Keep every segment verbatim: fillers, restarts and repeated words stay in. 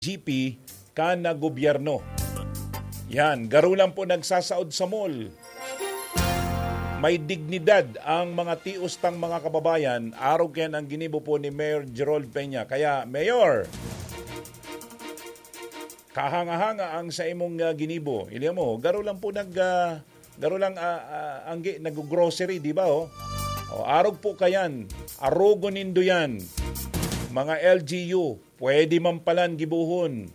G P kan gobyerno. Yan, garo lang po nagsasaod sa mall. May dignidad ang mga tios tang mga kababayan, arog kayan ang ginibo po ni Mayor Gerald Peña. Kaya, Mayor, kahanga-hanga ang sa imong, ah, ginibo. Ili mo, garo lang po nag, ah, garo lang, ah, ah, anggi, nag-grocery, di ba, oh? O, arog po kayan. Arogon nindo yan. Mga L G U, pwede man palan gibohon.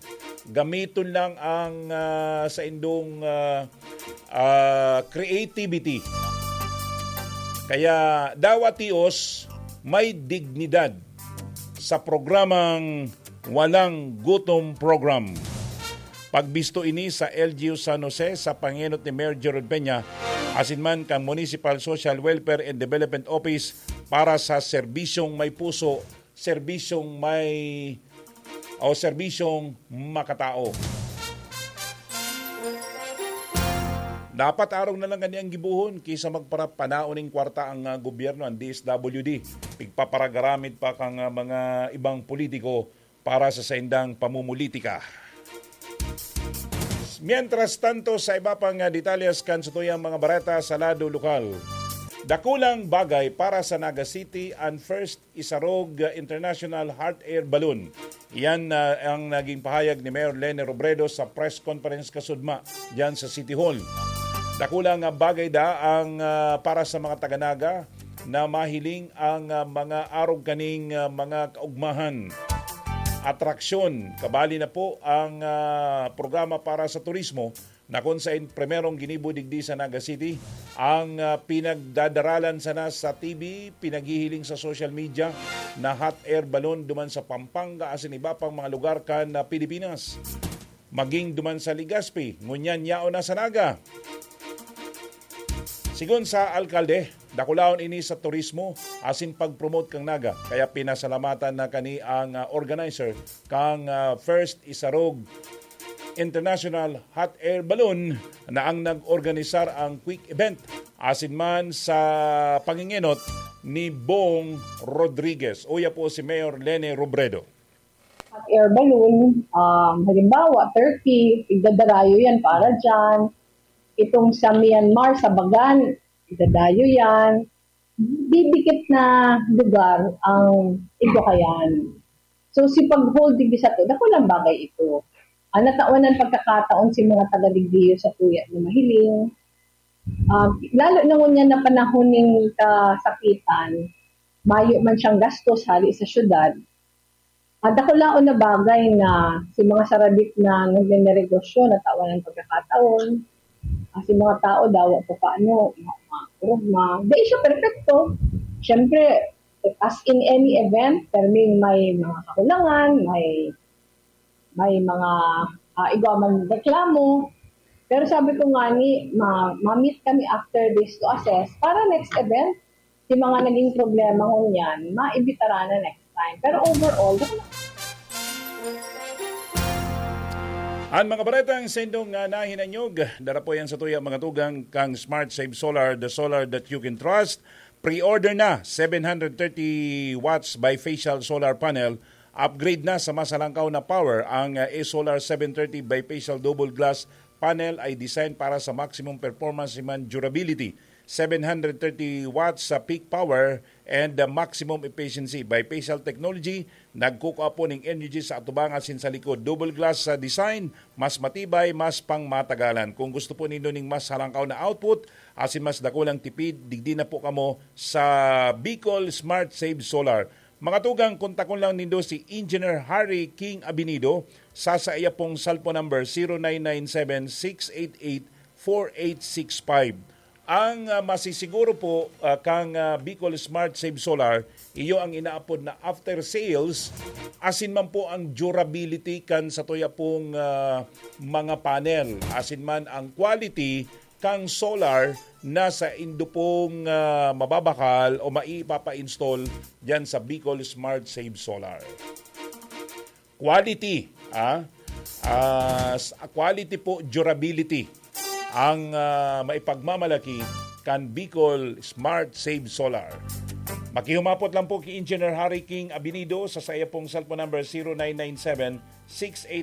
Gamiton lang ang, ah, sa indong, ah, ah, creativity. Kaya, dawa tios, may dignidad sa programang Walang Gutom Program. Pagbisto ini sa L G U San Jose sa pangenot ni Mayor Gerald Peña, asin man kan Municipal Social Welfare and Development Office para sa serbisyong may puso, serbisyong may, o serbisyong makatao. Dapat arog na lang kani ang gibohon kaysa magparapanaon ning kwarta ang, ah, gobyerno, ang D S W D. Pigpaparagaramit pa kang, ah, mga ibang politiko para sa saindang pamumulitika. Mientras tanto, sa iba pang, ah, detalles kan satuyang mga bareta sa lado lokal. Dakulang bagay para sa Naga City an first Isarog, ah, International Hot Air Balloon. Iyan, ah, ang naging pahayag ni Mayor Leni Robredo sa press conference kasudma diyan sa City Hall. Dakula nga bagay da ang, ah, para sa mga taga-Naga na mahiling ang, ah, mga arog kaning, ah, mga kaugmahan, atraksyon. Kabali na po ang, ah, programa para sa turismo na kun sain primerong ginibo digdi sa Naga City ang, ah, pinagdadaralan sana sa T V, pinaghihiling sa social media na hot air balloon duman sa Pampanga asin iba pang mga lugar kan, ah, Pilipinas. Maging duman sa Legazpi, ngunyan yaon na sa Naga. Sigon sa alkalde, dakulaon ini sa turismo asin pag-promote kan Naga. Kaya pinasalamatan na kani ang, ah, organizer kang, ah, First Isarog International Hot Air Balloon na ang nag-organisar ang quick event asin man sa pangingenot ni Bong Rodriguez. Uya po si Mayor Leni Robredo. Hot air balloon, um, halimbawa, Turkey, igdadarayo yan para dyan. Itong sa Myanmar, sa Bagan, igdadayo yan. Didikit na lugar ang igwa kayan. So, si pag-hold digdi sato, dakulang bagay ito. Ah, natawan ang pagkakataon si mga taga-digdiyo sa tuya na mahiling. Ah, lalo na ngunyan na panahon ning kasakitan, mayo man siyang gastos hali sa syudad. Ah, dakulaon na bagay na si mga sarabit na nagninegosyo natawan ang pagkakataon. Ah, si mga tao dawa pa paano, ma- ma- ma- Di siya perfecto. Siyempre, as in any event, perming may mga kakulangan, may may mga ah, igwa man reklamo. Pero sabi ko nga ni, ma- ma-meet kami after this to assess para next event, si mga naging problema ngunyan, maibitara na next time. Pero overall, An mga baretang sendong nga nahinanyog, dara po yan sa tuya mga tugang kang Smart Save Solar, the solar that you can trust. Pre-order na, seven hundred thirty watts bifacial solar panel. Upgrade na sa mas halangkaw na power. Ang uh, A-Solar seven thirty bifacial double glass panel ay design para sa maximum performance man durability. Seven hundred thirty watts sa peak power and the maximum efficiency. Bifacial technology, nagkukua po ning energy sa atubang asin sa likod. Double glass sa design, mas matibay, mas pangmatagalan. Kung gusto po nindo ning mas halangkaw na output, asin mas dakulang tipid, digdi na po kamo sa Bicol Smart Save Solar. Mga tugang, kontakon lang nindo si Engineer Harry King Abinido sa saiya pong cellphone number zero nine nine seven six eight eight four eight six five. Ang ah, masisiguro po ah, kang ah, Bicol Smart Save Solar, iyo ang inaapod na after sales, asin man po ang durability kan sa tuya pong ah, mga panel, asin man ang quality kang solar na sa indo pong ah, mababakal o maipapa-install diyan sa Bicol Smart Save Solar. Quality, ah, ah, s- quality po, durability ang ah, maipagmamalaki kan Bicol Smart Save Solar. Makihumapot lang po ki Engineer Harry King Abinido sa saya pong cellphone number zero nine nine seven six eight